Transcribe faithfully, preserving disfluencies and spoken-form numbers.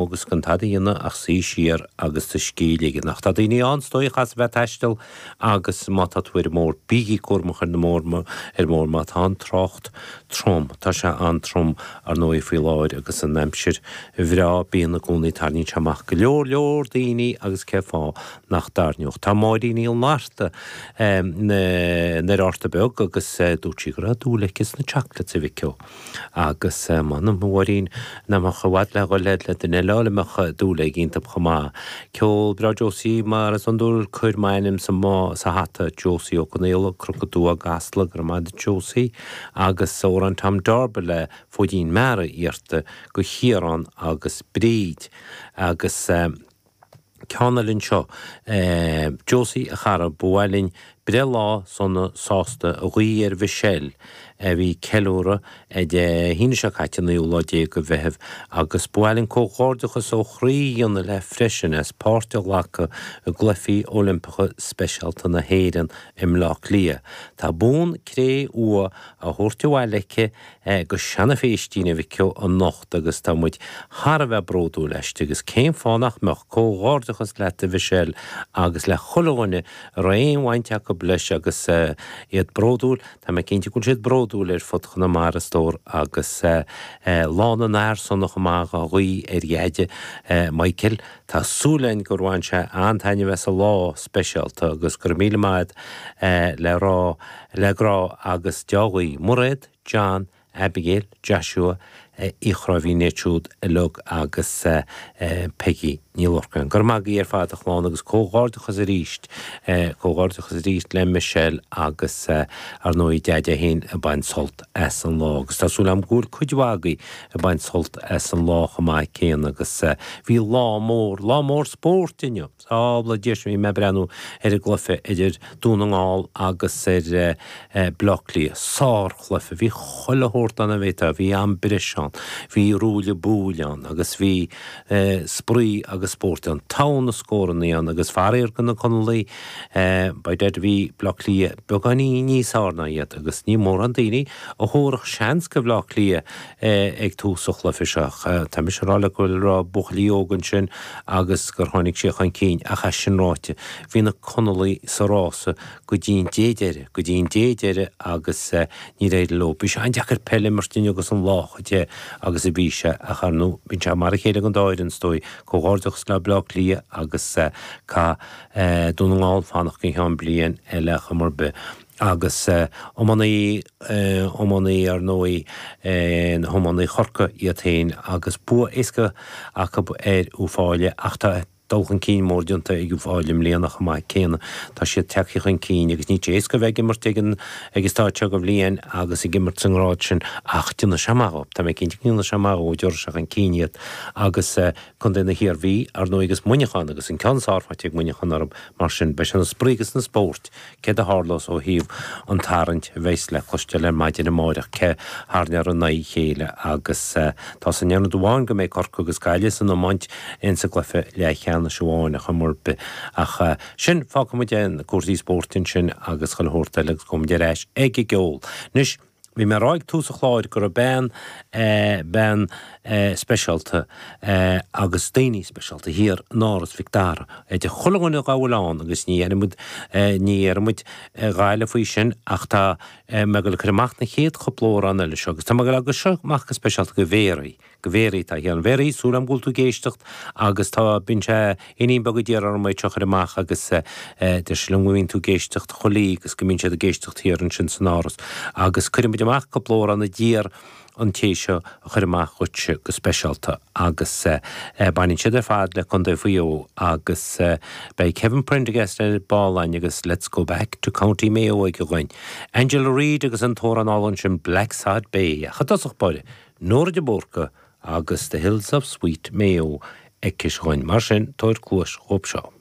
agus gan tada a dhéanamh ach suí siar agus do scíth a ligean. Ach tá daoine ann, is dóigh, a chaithfeas a bheith ag taisteal agus má tá tú ar an mbóthar, bígí cúramach ar an mbóthar ar an mbóthar má tá an trácht trom. Tá sé an-trom, ar ndóigh, faoi láthair agus an aimsir bhreá, bíonn i gcónaí, tarraingíonn sé amach go leor leor daoine agus cén fáth nach dtarraingeodh. Tá Máirín Ní Fhlatharta in Arta Beag agus dúirt sí go raibh dúil aici sna chocolates, a Mhic Ó. Agus m'anam, a Mháirín, nach mbeadh i bhfad le dhul le duine eile a mbeadh dúil aige iontu chomh maith. Ceol breá Josie, mar is iondúil, cuir m'ainm sa sa hata, Josie Ó Conaola, Cnoc an Tuath, gCasla, go raibh maith agat Josie, agus amhrán Tom Darba le Fóidín Meara iarrta go Chiarán agus Bríd. Agus ceann eile anseo, Josie, a chara, ba mhaith linn breithlá sona sásta a ghuí ar Mhichelle a bhí ag ceiliúradh Dé hAoine seo caite, an naoú lá déag de Mheitheamh, agus ba mhaith linn comhghairdeachas ó chroí a dhéanamh léi freisin as páirt a ghlacadh i gCluichí Oilimpeacha Speisialta na hÉireann i mBleá Cliath. Tá bonn cré-umha á thabhairt abhaile aici go Seanadh Phéistín, a Mhic Ó, anocht agus tá muid thar a bheith bródúil aisti agus cén fáth nach mbeadh? Comhghairdeachas leat a Mhichelle agus le chuile dhuine a raibh aon bhaint acu leis agus iad bródúil, tá mé cinnte go bhfuil siad bródúil ar fud Chonamara a stór agus Lá na bhFear sona chomh maith á ghuí ar Dheaide Michael. Tá súil againn gur bhain sé an-taitneamh as an lá speisialta agus go raibh míle maith agat le rá le grá agus dea-ghuí. Mairéad, John, Abigail, Joshua, Uí Chráimhín iad siúd uilig agus Peggy Ní Lorcáin. Go raibh maith agaibh ar fad a chlann agus comhghairdeachas arís, comhghairdeachas arís le Michelle agus ar ndóigh Deaide féin ag baint sult as an lá agus tá súil agam go bhfuil cuid mhaith agaibh ag baint sult as an lá chomh maith céanna agus bhí lá mór, lá mór spóirt inniu. Sábhála Dia bhí mé ag breathnú ar an gcluiche idir Dún na nGall agus ar Bleá Cliath. Sárchluiche. Bhí chuile shórt ann a bhféadfá. Bhí am breise ann, bhí ruaille buaille ann agus bhí spraoi agus spórt ann. Togha na scórannaí ann agus faraor do na Conallaigh, by dad bhí Bleá Cliath beagáinín níos fearr ná iad agus ní mórán daoine a thabharfadh seans go Bhleá Cliath ag tús an chluiche seo. Tá mise ag rá leat go raibh buachaillí óga ansin agus gur tháinig siad chun cinn ach é sin ráite, bhí na Conallaigh sa rása go dtí an dé deiridh, go dtí an dé deiridh agus níor éirigh leo. Bhí sé an-deacair peil a imirt inniu agus an lá chomh te agus a bhí sé ach ar ndóigh bíonn sé mar a chéile don dá fhoireann is dóigh. Comhghairdeachas le Bleá Cliath agus caithfidh Dún na nGall fanacht go ceann bliain eile ar chuma ar bith. Agus iománaí, iománaí ar ndóigh, na hiománaí Chorcaí iad féin agus bua éasca acu ar Uíbh Fhailí ach tá dul chun cinn mór déanta ag Uíbh Fhailí i mbliana chomh maith céanna. Tá siad tagtha chun cinn agus níl sé éasca a bheith ag imirt ag an ag an stáid seo de bhliain agus ag imirt sa ngrád sin ach déanfaidh sé maith dhóibh. Tá mé cinnte go ndéanfaidh sé maith dhóibh, tabharfaidh sé chun cinn iad agus Contae na hIarmhí, ar ndóigh agus Muineachán agus an ceann is fearr faighte ag Muineachán orthu mar sin beidh sé ina spraoi agus ina spórt Céard a tharlós ó thaobh an tarraingt a bheas le cloisteáil ar maidin amáireach, cé tharraingeofar in aghaidh a chéile agus tá san aon rud amháin go mbeidh Corcaigh agus Gaillimh san iomáint insa gcluiche leathcheannais amháin ar chuma ar bith. Ach sin, fágfaidh muid na cúrsaí spóirt ansin agus chuile shórt eile agus gabhfaidh muid ar ais ag an gceol. Anois, Bhí mé ag rá ag tús an chláir go raibh bean, bean speisialta agus daoine speisialta thiar in Áras Mhic Dara idir chuile dhuine dá bhfuil ann agus ní dhéarfaidh muid, ní dhéarfaidh muid a dhath faoi sin ach tá mé ag dul ag cur amach na chéad chúpla amhrán eile seo agus tá mé ag dul ag cur seo amach go speisialta go Mhéaraí. Go Mhéaraí atá thiar. A Mhéaraí, súil agam go bhfuil tú ag éisteacht agus tá, bíonn sé, iníon beag a d'iarr orm é seo a chur amach agus deir sí liom go mbíonn tú ag éisteacht chuile oíche agus go mbíonn siad ag éisteacht thiar ansin san áras agus cuirfidh muid amach cúpla amhrán a d'iarr an té seo a chur amach dhuitse go speisialta agus baineann siad ar fad le Contae Mhaigh Eo agus beidh Kevin Prendergast ar ball agus Let's Go Back to County Mayo aige dhuinn. Angela Reid agus an t-amhrán álainn sin Blacksod Bay ach i dtosach báire Nóra de Búrca agus The Hills of Sweet Mayo aici dhuinn. Mar sin, tabhair cluas dhóibh seo.